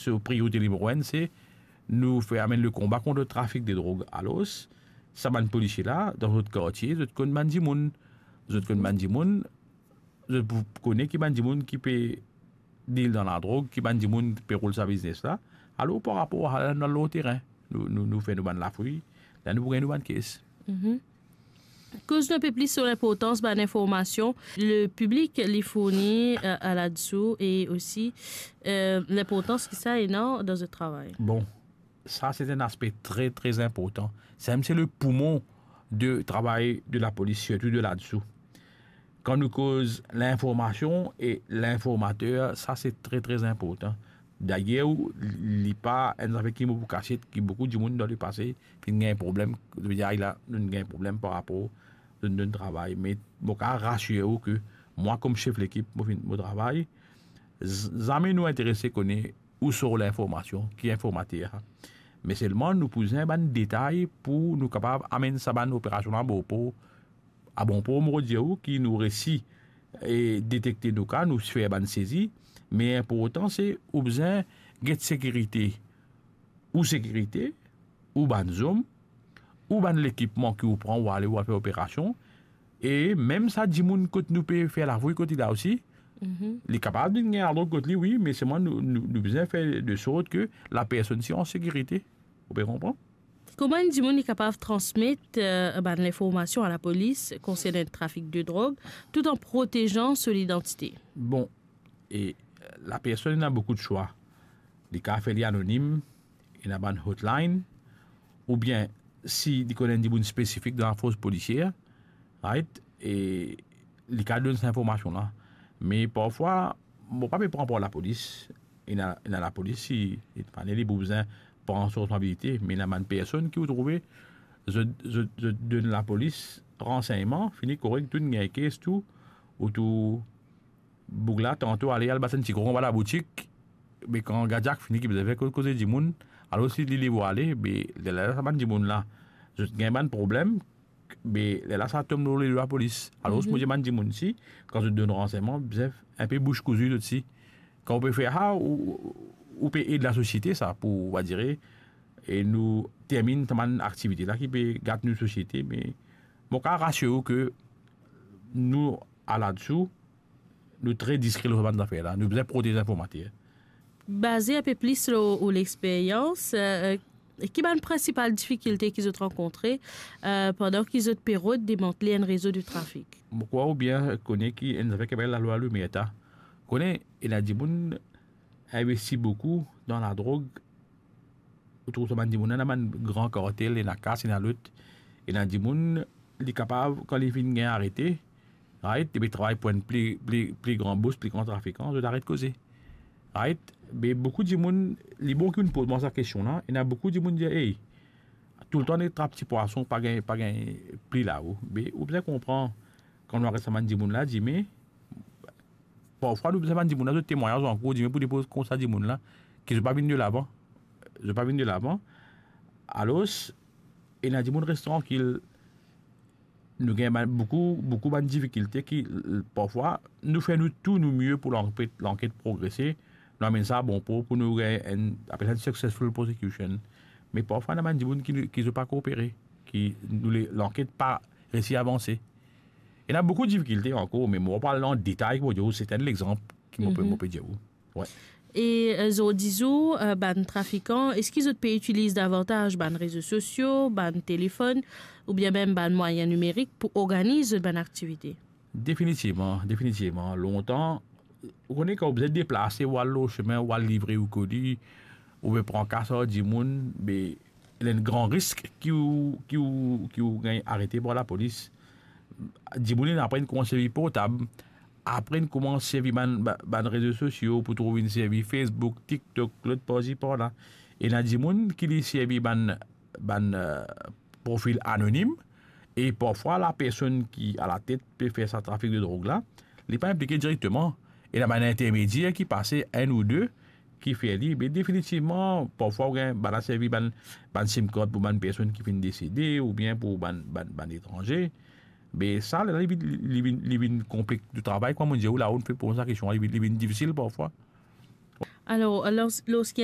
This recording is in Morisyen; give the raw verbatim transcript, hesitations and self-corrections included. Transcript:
So priorite nimero enn, se nou fer amenn le konba kont trafik de drog. Alor, sa bann polisie la, dan zot kartie, zot konn bann dimoun. Zot konn bann dimoun, zot pou kone ki bann dimoun ki pe deal dan ladrog, ki bann dimoun pe roul sa biznes la. Alor, par rapor a la, nou al lor terin, nou, nou, nou fer nou bann lafouy, la nou pou gagn nou bann kes. Mhm. Koz nou inpe plis lor linportans bann informasion le piblik li fourni, euh, a ladsou e osi, euh, linportans ki sa ena dan zot travay. Bon, sa se enn aspe tre, tre inportan. Sa mem se le poumon de travay de lapolis, sirtou de ladsou. Kan nou koz linformasion e linformater, sa se tre, tre inportan. Dayer, li pa enn zafer ki mo pou kasiet, ki boukou dimoun dan lepase finn gagn problem, zot pe dir, "Ay la, nou gagn problem par rapor zot donn travay." Me mo kapav rasir ou ke mwa, kom sef lekip, mo finn, mo travay, z-, zame nou interese kone ou sort linformasion, ki informater. Me selman nou pou bizin bann detay pou nou kapav amenn sa bann operasion la a bon por, a bon por, mo dir ou, ki nou resi, e, detekte nou ka, nou fer bann sezi. Me inportan se ou bizin get sekirite, ou sekirite, ou bann zom, ou bann lekipman ki ou pran, ou ale, ou al fer operasion. E mem sa dimoun kot nou pe fer lafouy kot li la osi, mhm, li kapav vinn gagn ladrog kot li, wi, me selman nou, nou, nou bizin fer de sort ke lapersonn si an sekirite. Ou pe konpran? Kouma enn dimoun li kapav transmet, euh, bann linformasion a lapolis konsernan trafik de drog, tout an protezan so lidantite? Bon, e, euh, lapersonn ena boukou de swa. Li kapav fer li anonim, ena bann hotline, oubien si li konn enn dimoun spesifik dan lafors polisier, right? E li kapav donn sa informasion la. Me parfwa, mo pa pe pran par lapolis. Ena, ena lapolis, si, si fane li pou bizin pran so responsabilite, me ena bann personn ki ou trouve, zot, zot, zot donn lapolis ransegnman, fini korek, tou gagn kes, tou, ou tou boug la, tanto ale, al bat enn ti kron anba laboutik, be kan gardiak fini ki bizin fer koze dimoun, alor si li, li vwale, be lerla sa bann dimoun la, zot gagn bann problem, be lerla sa tom lor ledo lapolis. Alor, mhm, mo dir bann dimoun si, kan zot donn ransegnman, bizin enpe bouch kouzi zot si. Kan ou pe fer sa, ou, ou, ou pe ed lasosiete sa, pou, on va dire, e nou terminn sa bann aktivite la ki pe gat nou sosiete, me mo kapav rasir ou ke nou, a ladsou, nou tre diskre lor sa bann zafer la. Nou bizin protez informater. Baze enpe plis lor ou lexperyans, euh, ki bann prinsipal difikilte ki zot rankontre, euh, pandan ki zot pe rod demantle enn rezo de trafik? Mo krwar ou bien kone ki enn zafer ki apel lalwa Loumerta. Kone, ena dimoun investi boukou dan ladrog. Ou trouv sa bann dimoun la, ena bann gran kartel, ena kas, ena lot. Ena dimoun, li kapav, kan li finn gagn arete, right, li pe travay pou enn pli, pli, pli gran bos, pli gran trafikan, zot aret koze. Right? Me boukou dimoun, li bon ki ou'nn poz mwa sa kestion la, ena boukou dimoun dir, "Ey, toultan nek trap ti pwason, pa gagn, pa gagn pli lao." Me ou bizin konpran, kan nou aret sa bann dimoun la, dime, parfwa nou bizin bann dimoun la zot temwagnaz ankor, dime pou depoz koumsa dimoun la, ki zot pa vinn delavan. Zot pa vinn delavan. Alor, ena dimoun res trankil. Nou gagn bann, boukou, boukou bann difikilte ki, l-, parfwa, nou fer nou tou nou mie pou lanket, lanket progrese, nou amenn sa a bon por, pou nou gagn enn, apel sa enn successful prosecution. Me parfwa, ena bann dimoun ki, ki zot pa koopere, ki nou le, lanket pa resi avanse. Ena boukou difikilte ankor, me mo pa al an detay, mo dir ou, se enn lexanp ki mo pe, mhm, mo pe dir ou. Wi. E, euh, zordi zour, euh, bann trafikan, eski zot pe itiliz davantaz bann rezo sosio, bann telefonn, oubien mem bann mwayin nimerik pou organiz zot bann aktivite? Definitivman, definitivman. Lontan, ou kone kan ou bizin deplase, ou al lor sime, ou al livre ou koli, ou pe pran kas ar dimoun, be, ena enn gran risk ki ou, ki ou, ki ou gagn arete par lapolis. Dimoun inn aprann kouma servi portab, aprann kouma servi bann, ba-, bann rezo sosio, pou trouv inn servi Facebook, TikTok, lot parsi parla. Ena dimoun ki li servi bann, bann, euh, profil anonim, e parfwa lapersonn ki alatet pe fer sa trafik de drog la, li pa inplike direkteman. Ena bann intermedier ki pase, enn ou de, ki fer li, me definitivman, parfwa ou gagn bann la servi bann, bann sim card pou bann personn ki finn desede oubien pou bann, bann, bann etranze. Me sa, li, li, li vinn, li vinn konplik de travay, kouma mo dir ou la, ou'nn fer pou sa kestion, li vinn, li vinn difisil parfwa. Alor, lors-, lorski enn